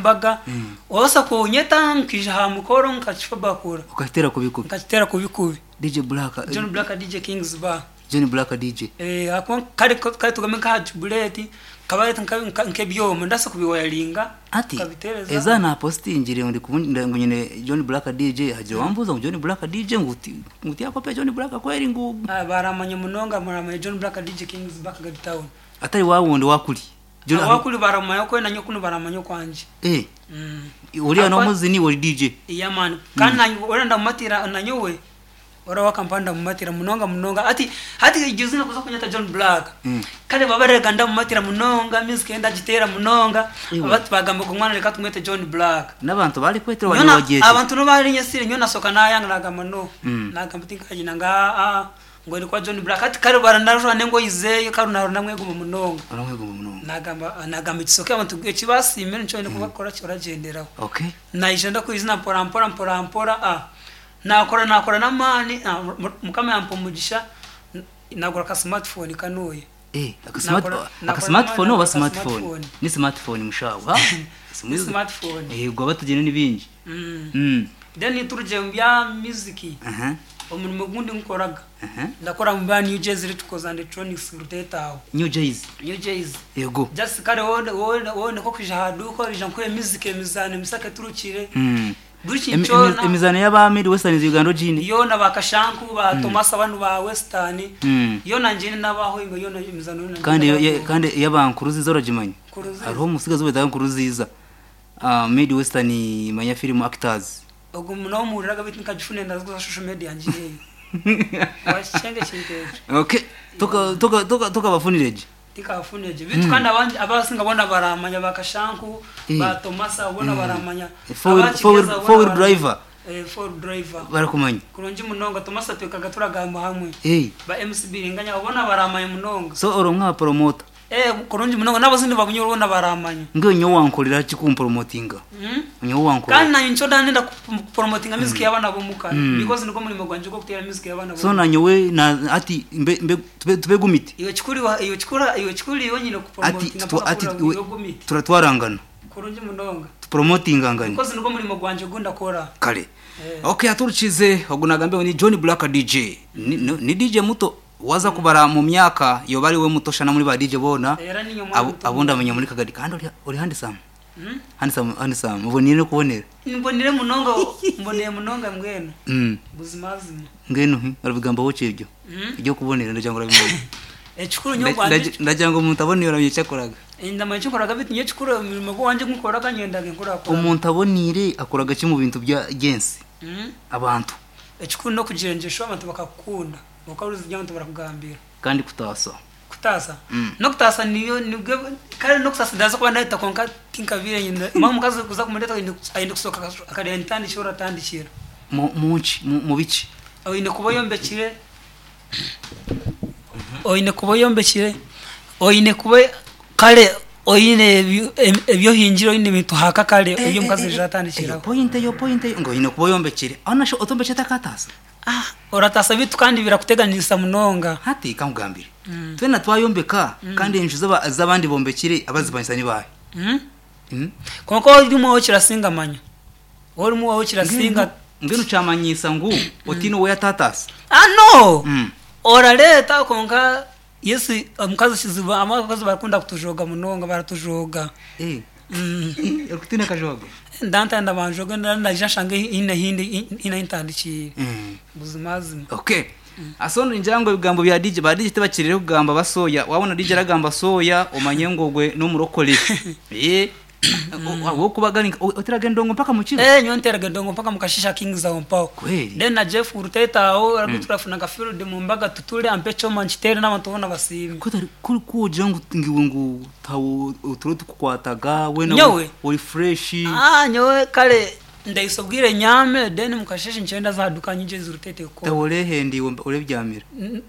Mbaga, Wabaasa kunyeta nkaija aha mukoro nkakifabakura. Okakiteera kubi kubi. Nkakiteera kubi kubi. DJ Black. John Black DJ Kings Bar. John Black DJ. Eh, ahakuba kare kare tugambe nk'aha Jubileeti nkabareeta nk'ebyoma ndabaasa kubiwayaringa Ati nkabiteereza. eza napositingire ngu ngu nyine John Black DJ hagira owambuuza ngu John Black DJ ngu ngu tiyakopa John Black kweri ngu. Ah, baramanya munonga muramanya John Black DJ Kings Bar Kagadi Town. Atari wawundi owakuri. Owakuri baramanya okwe nanye kunu baramanya okwangye. Eh. Oriya n'omuzini iwe ori DJ. Yeah man. Kandi nanye ora ndamumatira nanyowe ora wakampa ndamumatira munonga munonga. Hati hati juzi nakuza kunyeta John Black. Kare babarega ndamumatira munonga music ye ndagitera munonga. Bati bagamba ogu mwana reka tumwete John Black. N'abantu barikwetera Nyowe na abantu nobu barinyesire nyowe nasoka nayanga nagamba no. Nagamba tinkagina nga aa. Ngu ori kwa John Black hati kare baranajwara n'engoyi zeye kare naahurira ndamwegomba munonga. Oramwegomba munonga. Naagamba naagamba ekisoke abantu eki baasiimire nikyo oine kubakora ki oragyenderaho. Okay. Naija ndakwizina mpora mpora mpora mpora ah naakora naakora n'amaani ah Mukama yampa omugisha naagura ka smartphone kanuuya. Eh, aka smart Naakora aka naakora n'amaani smartphone oba naagura ka smartphone? smartphone. Ni smartphone mushaho ha? Ni smartphone. Eh, gwaba tugyine ni bingi. Then turugye omu bya music. Aha. Omurimo ogundi nkoraga. Aha. Ndakora omu bya New Jays Electricals and Electronics Ruteeta aho. New Jays. New Jays. Yego. Just kare wowe wowe wowe niko kwija aha duuka oija nkuhe music emizaano emisaka eturukire. Buri kintu kyona. Emizaano y'aba Mid Western Uganda ogiine? Yoona ba Kashanku, ba Tomasi abanu ba Western. Yoona ngiine n'abaho yoona emizaano yoona Kandi ngiine. kandi ey'aba Nkuruziza oragimanya? Nkuruziza. Hariho omutsigazi ou beeta Nkuruziza. Mid Western manya film actors. Ogu nomuhuriraga beitu nkagifuna ndaza social media ngiheyo. Wakikyanga ekintu ekyo. Okay. Toka toka toka tokabafunire gye. Tikabafunire gye. Beitu kandi abandi abasinga boona baramanya ba Kashanku, ba Tomasa boona baramanya. Four Aba wheel four wheel driver. Eh, four wheel driver. Barakumanya. Kurungi munonga Tomasa twekaga turagamba hamwe. Eh. Ba MC Biringanya abo boona baramanya munonga. So ori omwe aha promoter. Eh kurungi munonga n'abazini ba Bunyoro boona baramanya. Mbwenu nyowe wankorera ki kumporomotinga? Nyowe wankorera. Kandi nanye nikyo ndenda kuporomotinga music y'abaana b'omuka because nigwo murimo gwangye gw'okuteera music y'abaana So b'omuka. nanyowe na hati mbe mbe tube tube gumiti. Iwe kikuru iwe kikuru iwe kikuru iwe nyine Hati kuporomotinga tu mpaka hati kuhurira ngu iwe iwe gumiti. turatwarangana. Kurungi munonga. Tuporomotingangane. Because nigwo murimo gwangye ogu ndakora. Kare. Ok aturukize ogu nagambe ngu ni John Black DJ. Ni, ni DJ muto waza kubara mu myaka yoba ariwe muto shana muri ba DJ boona Era ninye omwana abu, muto abu ndamanya muri Kagadi kandi ori, ori handsome. Handsome, handsome. Oboniire n'okubonera. Mbonire munonga mbonire munonga mbwenu. Buzimazima. Mbwenu hi orabigambaho ki ebyo? Eby'okubonera ndagira ngu orabimanya. Ekikuru nyowe ogwangye. Ndagira ngu omuntu aboniire oramanya eki akoraga. Ndamanya eki nkoraga beitu nyowe ekikuru omurimo gwangye ogu nkoraga nyendaga enkurakura. Omuntu aboniire akoraga ki omu bintu by'ensi? Abantu. Ekikuru n'okugira engyesho abantu bakakukunda okahuuriza ebi abantu barakugambira. Kandi kutaasa. Kutaasa? N'okutaasa niyo nibwo kare n'okusaasa ndabaasa kuba naayeta kwonka tinkabiire nyine manya omukazi kuza kumureeta aine kusooka akareeba entandikiro oratandikira. Mu ki? Mu biki? Oine kuba oyombekire, oine kuba oyombekire, oine kuba kare oine ebi ohingire oine ebintu haka kare ebi omukazi aija atandikiraho. Eyo point eyo point eyo ngu oine kuba oyombekire. Aho shi otombekire takataasa? Orataasa beitu kandi birakuteganisa munonga. Hati kankugambire, twena twayombeka kandi enju ez'abandi bombekire abazipangisa ni baahi? Kwonka ori omwe kirasinga manya. Ori omwe kirasinga. Mbwenu kyamanyiisa ngu otiine ou yataataasa? Ah no! Orareeta kwonka yes omukazi kizibu abakazi barakunda kutujooga munonga baratujooga. Orikutiina akajoogo? Ndantanda banjooge naija nshange haine ahu ntandikiire. Buzimazima. Okay. So ningira ngu ebigambo bya DJ, ba DJ tibakirire kugamba basoya. Wabona DJ aragamba soya omanye ngu ogwe n'omurokore. Ahabw'okuba gari nka oteraga endongo mpaka mukiro? Eh nyowe nteraga endongo mpaka mukasheeshe Kings aho mpaho. Kweri? Then na Jeff Ruteta aho arabwo turafuna nka field mu mbaga tuture ampe ekyoma nkitere n'abantu boona basiime. Ku otari ku ku ogira ngu ngu iwe ngu tihaho oturo tukukwataga weena Nyowe? ori fresh. Ah nyowe kare Ndaisa obwire nyame then mukasheshe nkyenda ndaza aha duka nyigye Rutete kukora. Tawe orehenda iwe orebyamira.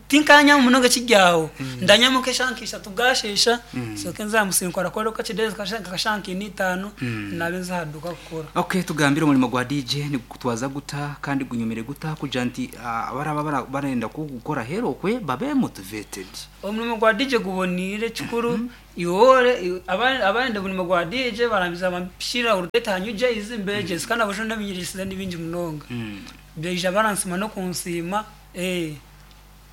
Tinkanyama munonga ekiryaho ndanyama nk'eshaaha nka ishatu bwashesha nshoke nze aha musiri nkorakore kakye nka shaaha nka ina itaano naabe nza aha duka kukora. Ok tugambire omurimo gwa DJ nigukutwaza guta kandi gunyumire guta kugira nti abaraba barenda kugukora aheeru okwe babe motivated. Omurimo gwa DJ guboniire kikuru. Iwe abandi omurimo gwa DJ barangiza bampishirira orutete aha New Jayz mbegyese kandi abashaija nabinyegyesize nibingi munonga. Baija baransiima n'okunsiima eh.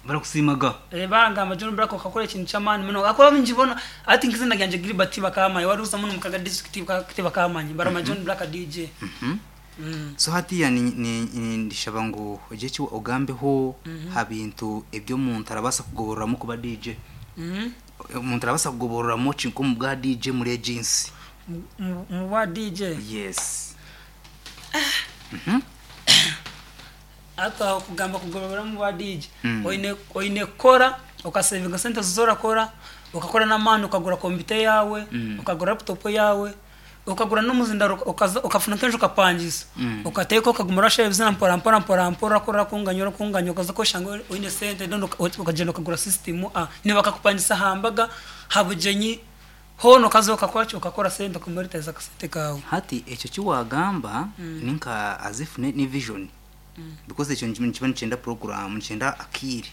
Barakusiimaga? Eh, barangamba John Blaq okakora ekintu ky'amaani munonga ahakuba abaingi boona hati nk'eiziina ryangye Gilbert tibakaamanya waruza muno mukaga district tibakaamanya baramanya John Blaq DJ. So hatiiya nindishaba ngu ogire eki ogambeho ha bintu ebi omuntu arabaasa kugobororamu kuba DJ. Omuntu arabaasa kugobororamu ki nk'omu bwa DJ omuri egi nsi? Omu bwa DJ? Yes. Hati aho kugamba kugobororamu omu bwa DJ, oine oine kukora okasevinga sente ezi orakora, okakora n'amaani okagura kompyuta eyaawe, okagura laputopu eyaawe, Okagura n'omuzindaro okaza okafuna nk'enju okapangisa okateeka okaguma orashara ebizina mpora mpora mpora mpora orakora orakunganya orakunganya okaza kweshanga oine esente then okagyenda okagura system nibakakupangisa aha mbaga, aha bugyenyi hoona okaza okakora ki okakora sente okamonetiza akasente kaawe. Hati ekyo eki waagamba ni nka as if ni vision because ekyo nikiba nikyenda program nikyenda akaire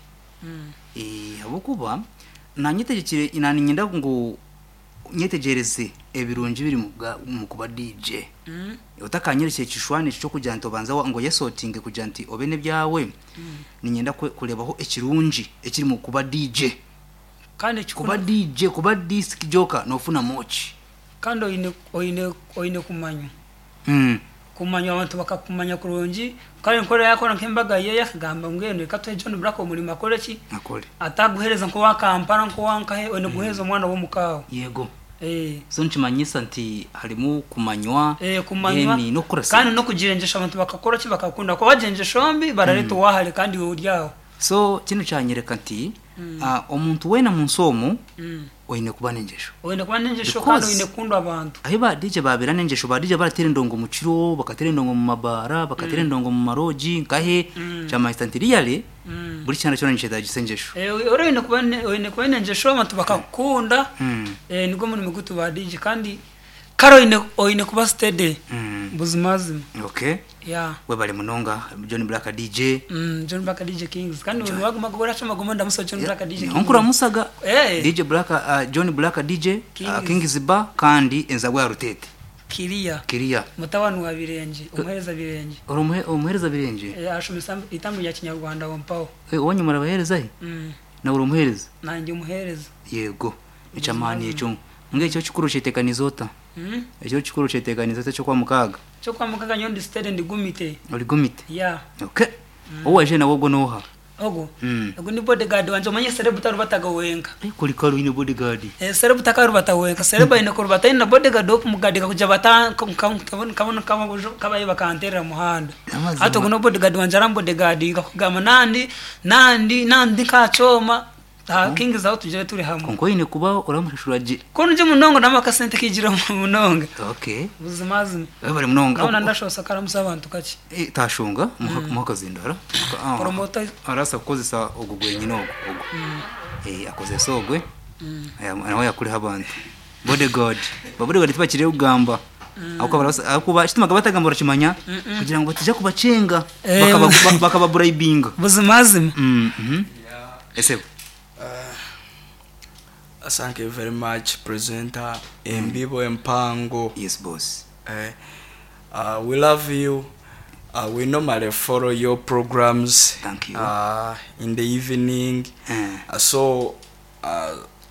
ahabw'okuba naanye niinyenda ngu Nyetegyereze ebirungi ebiri omu kuba DJ. Otakanyorekire ekishushani eki ky'okugira nti obanze ngu oyesotinge kugira nti obe n'ebyawe, niinyenda kureebaho ekirungi ekiri omu kuba DJ. Kuba DJ, kuba disc jockey noofunamu ki? Kandi oine oine oine kumanywa. Kumanywa abantu bakakumanya kurungi, kare nk'ori yaakora nk'embaga ye akagamba mbwenu reka tuhe John Blaq omurimo akore ki? Akore. Ataguheereza nk'owa Kampala nk'owa nkahe, oine kuguheereza omwana w'omuka aho. Yego. So nikimanyisa nti harimu kumanywa, Kumanywa then n'okukora kandi sente. n'okugira engyesho abantu bakakora ki? Bakakukunda. Ahakuba wagira engyesho mbi barareeta owa hare kandi iwe ori aho. So kinu kyanyereka nti omuntu weena omunsi omu oine kuba n'engyesho. Oine kuba n'engyesho kandi Because oine kukundwa abantu. ahi ba DJ babeera n'engyesho, ba DJ barateera endongo mu kiro, bakateera endongo mu mabaara, bakateera endongo mu maroogi nkahe, kyamanyisa nti really buri kyana kyona nikyetagisa engyesho. Ori oine kuba oine kuba oine engyesho abantu bakakukunda, nigwo murimo gwaitu ba DJ kandi Kare oine oine kuba steady buzimazima. Okay. Yeah. Webale munonga John Blaq DJ. John Blaq DJ Kings. Kandi buri waguma gukora kyoma guma ndamusa John Blaq DJ Kings. Nkuramusaga. Eh. DJ Blaq John Blaq DJ Kings. Kings Bar kandi enzabwa ya Rutete. Kiriya. Kiriya. Mutabani wa Birengye, omuhereza Birengye. Ori omuhereza Birengye? Eh, ashomesa eitambi rya Kinyarwanda aho mpaho. Eh, owanyu murabahereza hi? Nawe ori omuhereza? Nanye ndi omuhereza. Yego. Eky'amaani ekyo. Mbwenu ekiro kikuru okyeteekaniize ota? Ekiro kikuru okyeteekaniize ota eky'Okwamukaaga? Eky'Okwamukaaga nyowe ndi steady ndi gumite. Ori gumite? Yeah. Okay. Ou waijire nawe ogwo n'oha? Ogwo? Ogwo ni bodyguard wangye omanye serebu tarubataga wenka. Eh, kuri kare oine bodyguard. Eh, serebu takarubata wenka. Serebu aine kurubata aine na bodyguard w'okumugadinga kugira bata nkabaye bakanteerera omu muhanda. Amazima. Hati ogwo no bodyguard wangye arambodyguardinga kugamba nandi nandi nandi nka kyoma Aha Kings aho tugyire turi hamwe. Kwonka oine kuba oramushashura gye. Ku ndi munonga namu akasente kaijire munonga. Okay. Buzimazima. Webare munonga. Nabona ndashosa karamusa abantu kakye. Eh, tashunga muhe akazindaro. Promoter. Arasa kukozesa ogu gwenyine ogu ogu. Eh, akozesa ogwe. Aya nawe yakuriho abantu. Bodyguard. Ba bodyguard tibakiriyo kugamba. Ahabw'okuba barabasa ahabw'okuba ekitumaga batagamba orakimanya kugira ngu bataija kubakyenga bakaba bakababurayibinga. Buzimazima. Esebo. Thank you very much presenter embibo empango. Yes boss. We love you we normally follow your programs Thank you. in the evening so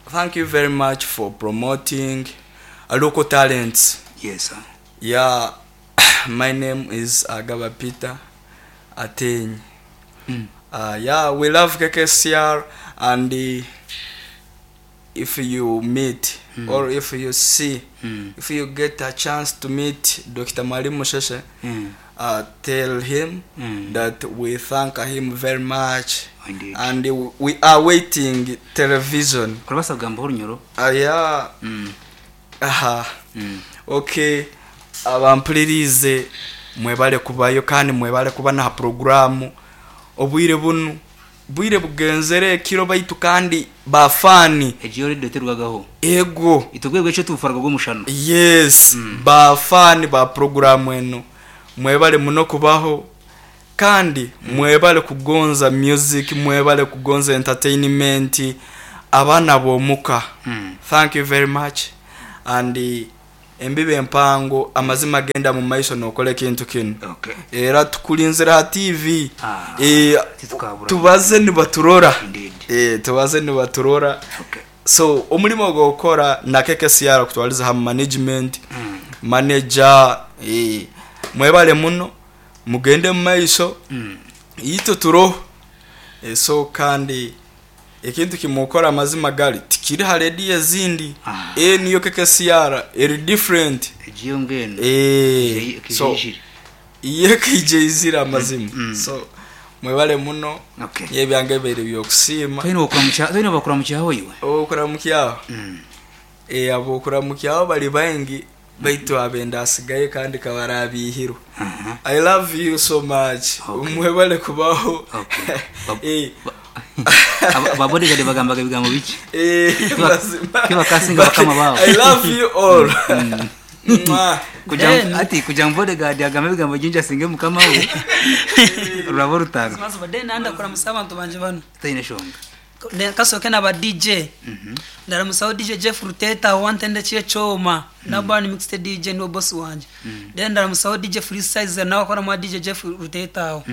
thank you very much for promoting local talents. Yes sir. Yeah my name is Agaba Peter Ateenyi. Yeah we love KKCR and if you meet or if you see if you get a chance to meet Dokita Mwalimu Sheshe tell him that we thank him very much Indeed. and we are waiting television. Orabaasa kugambaho orunyoro? Yeah. Aha. Okay abampuririize mwebare kubayo kandi mwebare kuba n'aha puroguraamu. Obwire bunu bwire bugenzere ekiro baitu kandi ba faani. Egi yo radio terugagaho. Ego. Itwe obwire bw'ekiro tubufarwa bw'omushana. Yes, ba faani ba puroguraamu enu mwebare muno kubaho kandi mwebare kugonza music, mwebare kugonza entertainment. Abaana b'omuka thank you very much and embibo empango amazima genda mu maiso nokola ekintu kinu Okay. era tukulinzire ha TV Ah, eh, titukabura. tubaze nibaturora Indeed. eh, tubaze nibaturora Okay. so omurimo ogwokukora na KKCR kutwaliza hamu management manager eh, mwebale muno mugende mu maiso itwe turoho Eh, so kandi ekintu kimukora amazima gali tikiri ha rediyo ezindi Ah. e niyo KKCR eri different Egiyo mbwenu. eh, so Ekijeijire. iye kijeizire amazima so mwebale muno Okay. yebyange ebiire byokusiima Twine okuramukya, twine bakuramukyaho iwe. Obukuramukyaho eh, abokuramukyaho bari baingi baitu abenda asigaye kandi kabarabihirwe Aha. I love you so much Okay. mwebale kubaho Okay. Eh, Aba bodyguard bagambaga ebigambo biki? eh, mazima. Kibakasinga bakama baabo. I love you all Mwah. Kugira ngu- Then- ati kugira ngu bodyguard agambe ebigambo bingi asinge mukama we. Ruraba orutaro. Mazuba then ndakuramusa abantu banje bano Taine shonga. Kasoke naba DJ ndaramusaho DJ Jeff Ruteta wantendekire kyoma naba ni mixed DJ niwe boss wanje then ndaramusaho DJ Free Size nawe akora mwa DJ Jeff Ruteta aho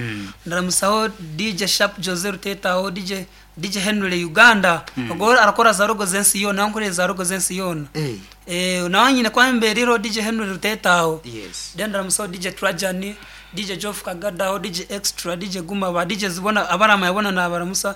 ndaramusaho DJ Sharp Jose Ruteta aho DJ DJ Henry Uganda ogwo arakora za rogo zensi yona nkorera za rogo zensi yona Eh. eh nawe nyine kwa mbere DJ Henry Ruteta aho Yes. then ndaramusaho DJ Trajan DJ Joff Kagadaho DJ Extra DJ Guma ba DJ zibona abarama yabona nabaramusa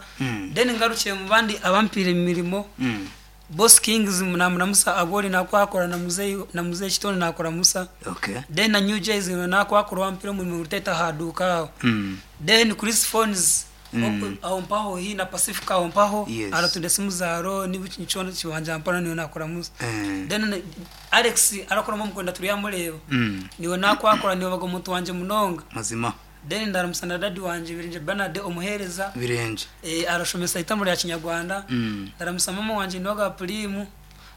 then ngarukiye mu bandi abampira imirimo Mm. Boss Kings namuramusa abori nakwakora na muzeyi na muzeyi Kitone nakora musa Okay. then na New Jays nakwakora wampira umurimo ruteta haduka aho Mm. then Chris Phones aho mpaho hi na Pacific aho mpaho Yes. aratunda simu zaro nibichono kiwanja mpana niwe nakora musa Eh. then Alex arakoramo mukwenda turiyamureba Mm. niwe nakwakora niwe baga omuntu wanje munonga Mazima. then ndaramusa na dadi wanje Birenje Bernard omuhereza Birenje. eh, arashomesa itamuro ya kinyarwanda Mm. ndaramusa mama wanje niwe ga prime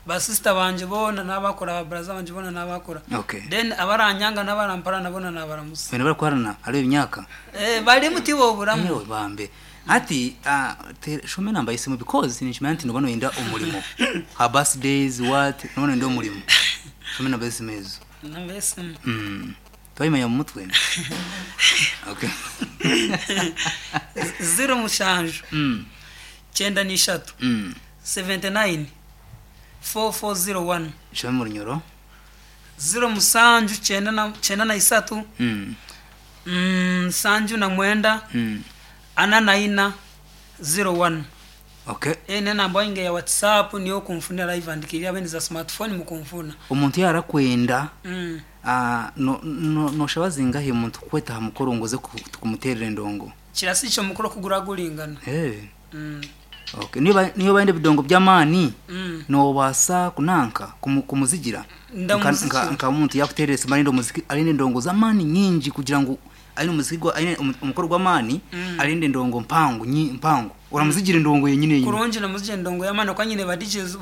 ba sister banje bona n'abakora ba brother banje bona n'abakora Okay. then abaranyanga n'abarampara nabona nabaramusa Bene barakwarana ari imyaka. eh, bari muti boburamu Yewe bambe. Ati ah, shome namba isimu because nishimanya nti nobona wenda umurimo. Her birthdays what nobona wenda umurimo. Shome namba isimu ezo. nambese Mm. Twayimanya mu mutwe. Okay. 07 Mm. 93 Mm. 79 4401 Shome mu runyoro. 07 93 Mm. 79 Mm. 44 01 Okay. ene namba yange ya whatsapp niyo kumfuna live andikirira abene za smartphone mukumfuna Omuntu yarakwenda mm. ah, no no noshaba zingahe omuntu kukweta aha mukoro ngo oze kumuterera endongo. kirasi ico mukuru kugura guringana Hey. mm. Okay. Niba niyo baende bidongo by'amani Mm. nobasa kunanka kumuzigira Ndamuzigira. nka muntu yakuterera arinde omuziki arinde endongo z'amani nyingi kugira ngu arinde omuziki gwa arinde omukoro gw'amani arinde endongo mpango mpango uramuzigira endongo yenyine yenyine kurungi namuzije ndongo yamani kwa nyine ba DJs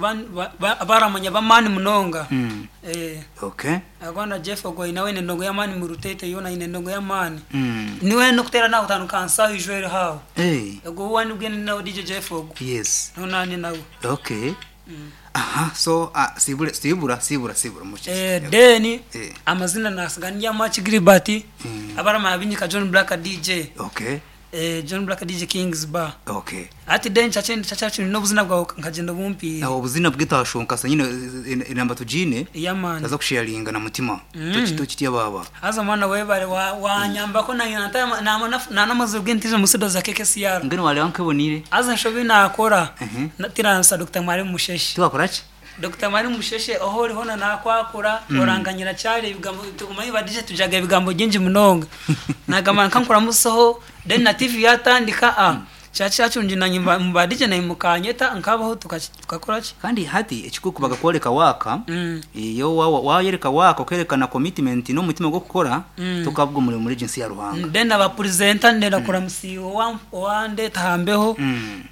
baramanya bamani munonga Mm. eh Okay. agwana Jeff ogwa nawe ne ndongo yamani mu rutete yona ine ndongo yamani Mm. niwe no kutera naho utanu kansa ijwere hawo Hey. ego wani ugende nawe DJ Jeff ogwa Yes. nonani nawe Okay. Aha, so ah, sibura sibura sibura sibura muchi. eh deni Eh. amazina nasigania Match Gilbert abarama abinyika John Black DJ Okay. eh John Black DJ Kings Bar Okay. ati deni chache chache n'obuzina bwawe nkagenda bumpi Aho obuzina bwitashonka nyine inamba tujine yamani taza kusharinga na mutima. Tukitya baba. haza mwana webare wanyambako nanamaze ubwentije musido za KKCR Ngene wale wankebonire. haza nshobi nakora Mhm. tiransa Dr. Mwarimu Musheshe Tuwakora ki? Dr. Mwarimu Musheshe aho uriho nakwakura oranganyira cyari ibigambo tugumaye badije tujaga ibigambo byinji munonga nagama nkankura musoho then na TV yatandika a chachi chachunji na nyimba mbadije na imukanyeta nkabaho tukakora ki Kandi hati ekikuku bakakwoleka waka Mm. iyo wayereka waka okerekana commitment n'omutima gw'okukora tukabwa omurimo muri agency ya Ruhanga. then abapresenter ndenda kura musiwo wandeta hambeho Mm.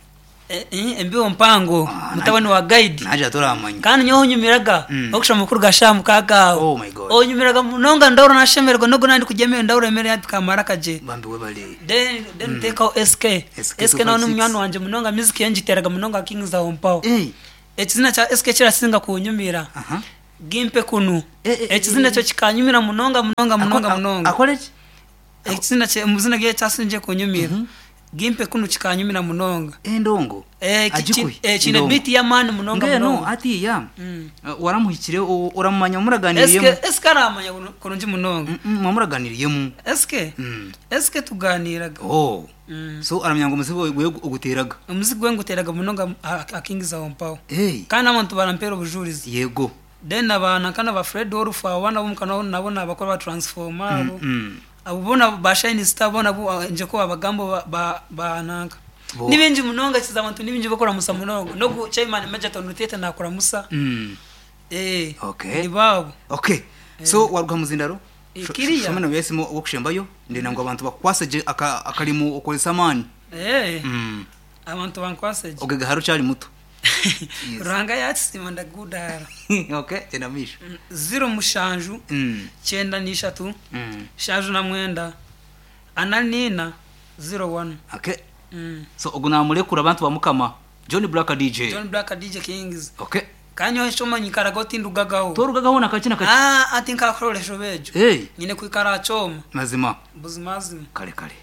Embibo mpango mutabani wa Guide. Nagira toramanya. Kandi nyowe onyumiraga okushoma amakuru ga shaaha mukaaga aho. Oh my God. Onyumiraga munonga ndahurira nashemererwa nogu nandi kurya emere ndahurira emere yampika amaraka gye. Bambi webale. Then then nteekaho SK. SK SK nawe 256. n'omunywani wangye munonga music ye ngiteeraga munonga Kings aho mpaho. Hey. Ekizina kya SK kirasinga kunyumira. Aha. Gimpe kunu. Eh, eh, Ekizina eh. ekyo kikanyumira munonga munonga munonga munonga. Akore ki? Ekizina kye omuzina gye ekyasingire kunyumira. Gimpe kunu kikanyumira munonga. Endongo. Eh, Agikuhe. kiine Endongo. beat y'amaani munonga Mbwenu munonga. hatiiya waramuhikire oramumanya muraganiriyemu. SK SK aramanya kurungi munonga. Mwamuraganiriyemu. SK SK tuganiraga. Oh. So aramanya ngu omuzigo gwe oguteraga. Omuzigo gwe nguteraga munonga akingiza aho mpaho. Hey. Kandi abantu barampera obujurizi. Yego. Then abaana nkana ba Fred Wolf abo bana b'omuka nabo nabakora ba transformer abo. Abo boona ba Shine Star boona nje ko abagambo ba bananka. Bo. Ni bingi munonga kiza abantu ni bingi bakora musa munonga. Nogu chairman Major Tonutete nakora musa. Eh. Okay. Ni babo. Okay. So waruga muzindaro? Eh, kiriya. Shomena byesimo okushembayo ndenda ngu abantu bakukwase gye akarimu okozesa amaani. Eh. Abantu bankwase gye. Ogega hari okyari muto. Yes. Ruhanga yakisiima ndagudara. Okay, gyenda mumaisho. 07 93 79 44 01. Okay. So ogu namurekura abantu bamukama John Black DJ. John Black DJ Kings. Okay. Kandi nyowe ekyo nyikaraga otindugagaho. Torugagaho nakaki nakaki. Ah, ati nkakuroresha bejo. Hey. Nyine kwikara aha kyoma. Mazima. Buzimazima. Kare kare.